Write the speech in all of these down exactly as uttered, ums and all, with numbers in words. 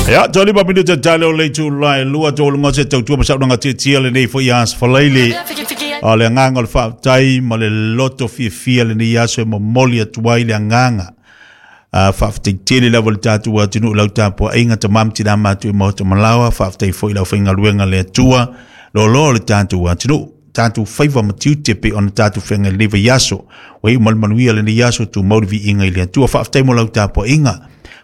Ia, tolima minuta tale o le itulā e lua toluga o se tautua ma saunoaga tietie lenei foi aso Falaili. O le agaga o le faafetai ma le loto fiafia lenei aso e momoli atu ai le agaga. Uh, faafetai tele lava le tatou atunuu lau tapuaiga tamā ma tinā matutua i maota malaoa. Faafetai foi lau faigaluega le Atua lolo le tatou atunuu tatou faiva ma tiute pe ona tatou feagai lenei vaiaso. Ua iu ma le manuia lenei aso, tumau le viiga i le Atua. Faafetai mo lau tapuaiga.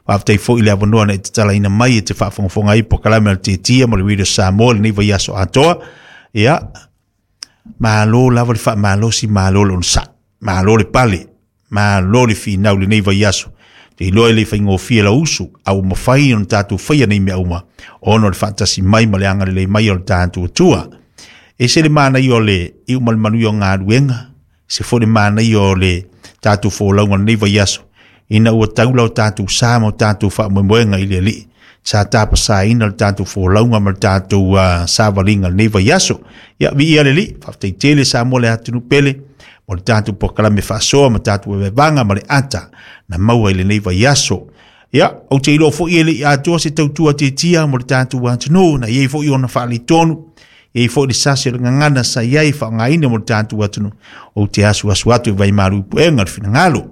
Faafetai foi le avanoa na e tatalaina mai e te faafogafoga ai polokalame a le Tietia ma le Radio Samoa lenei vaiaso atoa. Ia, malo lava le faamalosi, malo le onosai, malo le pale, malo le finau lenei vaiaso. Te iloa i le faigofie lau usu, a ua mafai ona tatou faia nei mea uma, ona o le faatasi mai ma le agalelei mai o le tatou Atua. E se le manaia o le iu ma le manuia o galuega, se foi le manaia o le tatou folauga lenei vaiaso, ina ua taula o tatou sa ma o tatou faamoemoega i le Alii. Sa tapasaina le tatou folauga ma le tatou uh, savaliga lenei vaiaso. Ia, viia le Alii, faafetai tele Samoa le atunuu pele, mo le tatou polokalame faasoa ma tatou vevevaga ma le ata na maua i lenei vaiaso. Ia, ou te iloa foi e le i atoa se tautua tietia mo le tatou atunuu, na iai foi ona faaletonu, iai foi le sasi o le gagana sa iai faaaogaina mo le tatou atunuu. Ou te asuasu atu i vaimalu i puega le finagalo.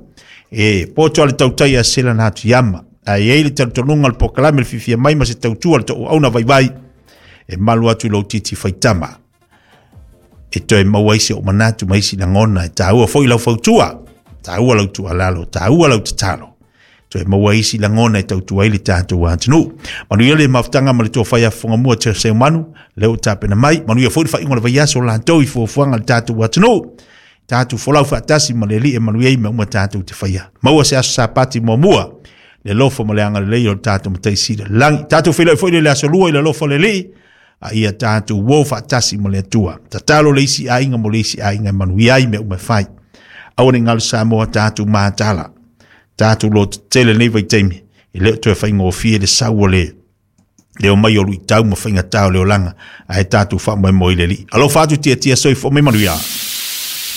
E poto le tautai a sela na atu iama. A iai le talitonuga o le polokalame le fiafia mai ma se tautua le tauauna vaivai. E malu atu i lou titi faitama. E toe maua ai se o manatu ma isi lagona. E taua foi lau fautua. Taua lau tuualalo. Taua lau tatalo. Toe maua isi lagona e tautua ai le tatou atunuu. Manuia le mafutaga ma le tofa ia fofogamua te seumanu. Lea ua tapena mai. Manuia foi le faaiuga o le vaiaso o latou i fuafuaga a le tatou atunuu. Tatou folau faatasi ma le Alii e manuia ai mea uma tatou te faia. Maua se aso Sapati muamua. Le alofa ma le agalelei o le tatou Matai Sili lagi. Tatou feiloai foi le aso lua i le alofa o le Alii. A ia tatou uo faatasi ma le Atua. Tatalo le isi aiga mo le isi aiga e manuia ai mea uma e fai. Aua ne i galo Samoa tatou matala. Tatou lototetele lenei vaitaimi. E le o toe faigofie le sau o le leo mai o luitau ma faigata o le olaga. Ae tatou faamoemoe i le Alii. Alofa atu tietie soifua mai manuia.